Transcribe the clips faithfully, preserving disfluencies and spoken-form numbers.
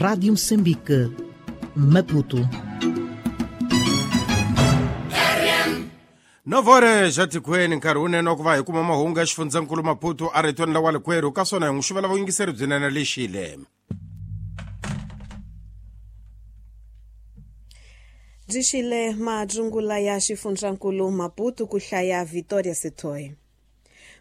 Rádio Moçambique, Maputo. nove horas já tikweni nkarhi wunene wa ku va hi kuma mahungu ya xifundzankulu Maputo a ritweni la wa likwerhu ka swona hi n'wi xuvela vuyingiseri byinene lexile. Byi madzungula ya xifundzankulu Maputo ku hlaya Victoria Setoy.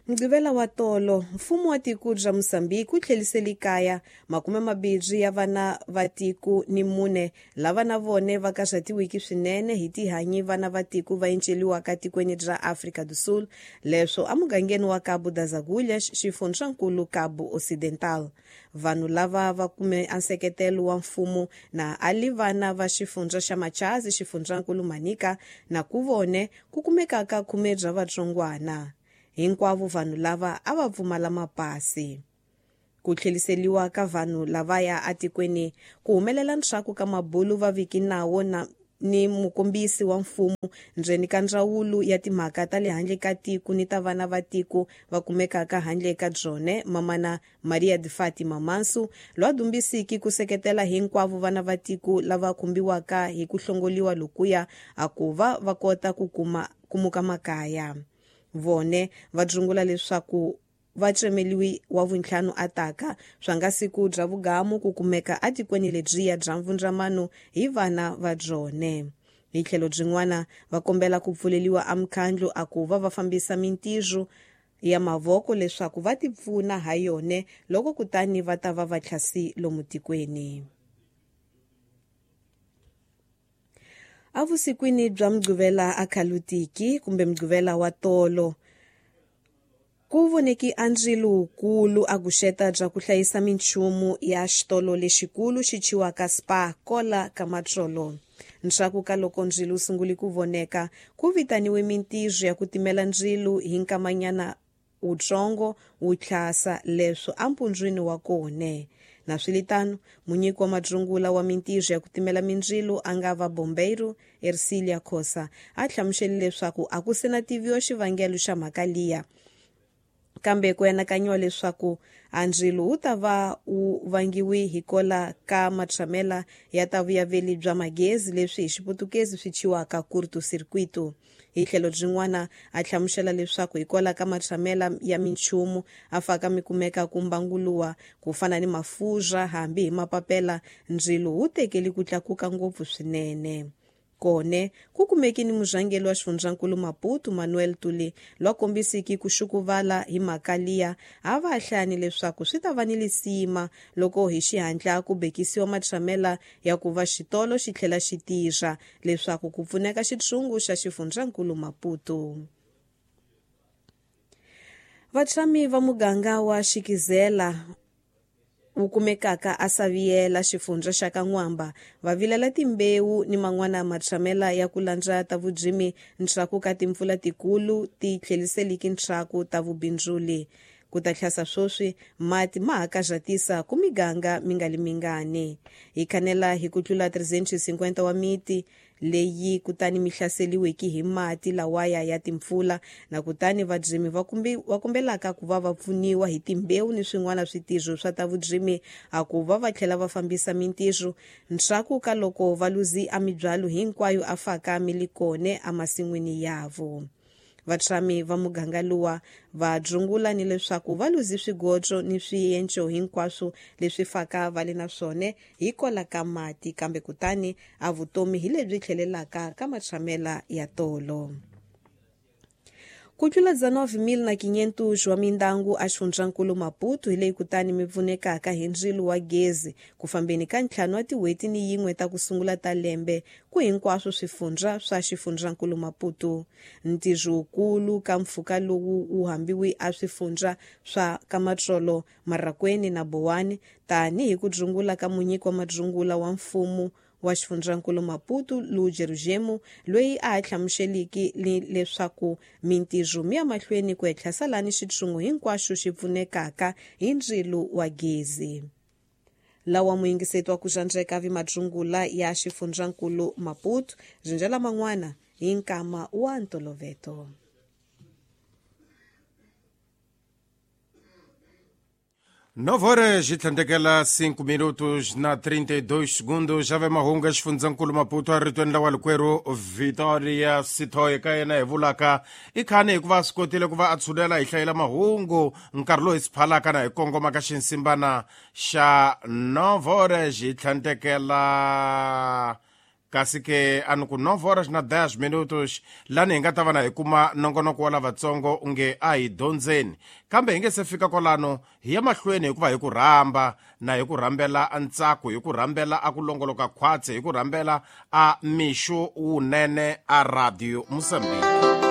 Mugqivela wa tolo, mfumo wa tiko bya Mozambique wu tlhelisele kaya makume mambirhi ya vana va tiko ni mune lava na vone va karhatiwiki swinene hi tihanyi vana va tiko va enceliwaka tikweni bya Afrika do Sul, leswo emugangeni wa Cabo das Agulhas, xifundzankulu Cabo Ocidental. Vanhu lava va kume nseketelo wa mfumo na ali vana va xifundza xa Machazi, xifundzankulu Manica, na ku vone ku kumekaka khume bya vatsongwana. Hinkwavo vanhu lava a va pfumala mapasi. Ku tlheliseliwa ka vanhu lavaya atikweni ku humelela ntshaku ka mabulu va viki nawo na ni mukombisi wa mfumo ndzeni ka ndzawulo ya timhaka ta le handle ka tiko ni ta vana va tiko va kumekaka handle ka byone, mamana Maria de Fatima Mansu, lwa dumbisiki ku seketela hinkwavo vana va tiko lava khumbiwaka hi ku hlongoliwa lokuya a ku va va kota ku kuma kumuka makaya. Vone va dzungula leswaku va cemeliwi wa vuntlhanu ataka swa nga siku bya vugamu ku kumeka atikweni lebyiya bya mvundzamano hi vana va byone. Hi tlhelo byin'wana va kombela ku pfuleliwa emikhandlu a ku va va fambisa mintirho ya mavoko leswaku va tipfuna ha yone loko kutani va ta va va tlhasi lomu tikweni. Avusikwini bya Mugqivela a Khalutiki kumbe Mugqivela wa tolo, ku voneki a ndzilo wukulu a guxeta bya ku hlayisa minchumu ya xitolo lexikulu xi thyiwaka Spa kola ka matsolo. Ntshaku ka loko ndzilo wu sungule ku voneka, ku vitaniwe mintirho ya ku timela ndzilo hi nkamanyana wutsongo wu tlhasa leswo empundzwini wa kone. Naswilitano, munyiki wa madzungula wa mintirho ya ku timela mindzilo a nga va Bombeiro Ercilia Khosa a hlamusele leswaku a ku se na tiviwa xivangelo xa mhaka liya, kambe ku anakanyiwa leswaku a ndzilo wu ta va wu vangiwi hi kola ka matshamela ya ta vuyaveli bya magezi leswi hi xiputukezi swi thyiwaka curto-circuito. Hi tlhelo byin'wana a hlamusela leswaku hikwalaho ka matshamela ya minchumu a faka mi kumeka ku mbanguluwa ku fana ni mafurha hambi hi mapapela, ndzilo wu tekeli ku tlakuka ngopfu swinene. Kone ku kumeki ni murhangeri wa xifundzankulu Maputo Manuel Tuli lwa kombisiki ku xukuvala hi mhaka liya a va hlani leswaku swi ta va ni lisima loko hi xihatla ku bekisiwa matshamela ya ku va xitolo xi tlhela xi tirha leswaku ku pfuneka xitshungu xa xifundzankulu Maputo. Vatshami va muganga wa Xikizela wu kumekaka a Saviela xifundza xa Kan'wamba va vilela timbewu ni man'wana matshamela ya ku landza ta vudzimi ntshaku ka timpfula tikulu ti tlheliseliki ntshaku ta vubindzuli. Ku ta tlhasa swoswi mati ma ha karhatisa ku miganga mi nga li mingani. Hi khanela hi ku tlula trezentos e cinquenta wa miti leyi kutani mi hlaseliweki hi mati lawaya ya timpfula, na kutani vadzimi va kumbi va kombelaka ku va va pfuniwa hi timbewu ni swin'wana switirho swa ta vudzimi a ku va va tlhela va fambisa mintirho ntshaku ka loko va luzi a mibyalo hinkwayo a faka milikone emasin'wini yavo. Vatshami va muganga luwa va dzungula ni leswaku va luzi swigodzo ni swienco hinkwaswo leswi faka va le na swona hikwalaho ka mati, kambe kutani a vutomi hi lebyi tlhelelaka ka matshamela ya tolo. Ku tlula dezenove mil na quinhentos wa mindangu a xifundzankulu Maputo hi leyi kutani mi pfunekaka hi ndzilo wa gezi ku fambeni ka ntlhanu wa tin'hweti ni yin'we ta ku sungula ta lembe ku hinkwaswo swifundza swa xifundzankulu Maputo. Ntirho wukulu ka mpfhuka lowu wu hambiwi a swifundza swa Kamatsolo, Marracuene na Boane tanihi ku dzungula ka munyiki wa madzungula wa mfumo wa xifundzankulu Maputo Lujerujemu, loyi a ha hlamuseliki leswaku mintirho mi ya mahlweni ku etlhasa lani xitshungu hinkwaxo xi pfunekaka hi ndzilo wa gezi. Lawa muyingiseti wa ku xandzeka vi madzungula ya xifundzankulu Maputo rinjela man'wana hi nkama wa ntoloveto. Nove horas e tlhandlekela cinco minutos na trinta e dois segundos. Xave mahungu ya xifundzankulu Maputo eritweni ra walikwerhu Victoria Sithoye. Ka yena hi vulaka i khani hikuva a swi kotile ku va a tshulela hi hlayela mahungu nkarhi lowu hi swi phalaka na hi kongoma ka xinsimbana xa nove horas hi tlhandlekela, kasi ke a ni ku nove horas na dez minutos, lani hi nga ta va na hi kuma nongonoko wa lavatsongo nge a hi dyondzeni. Kambe hi nge se fika kwalano, hi ya mahlweni hikuva hi ku rhamba na hi ku rhambela ntsako, hi ku rhambela a ku longoloka khwatsi, hi ku rhambela a mixo wunene a Radio Mosambiki.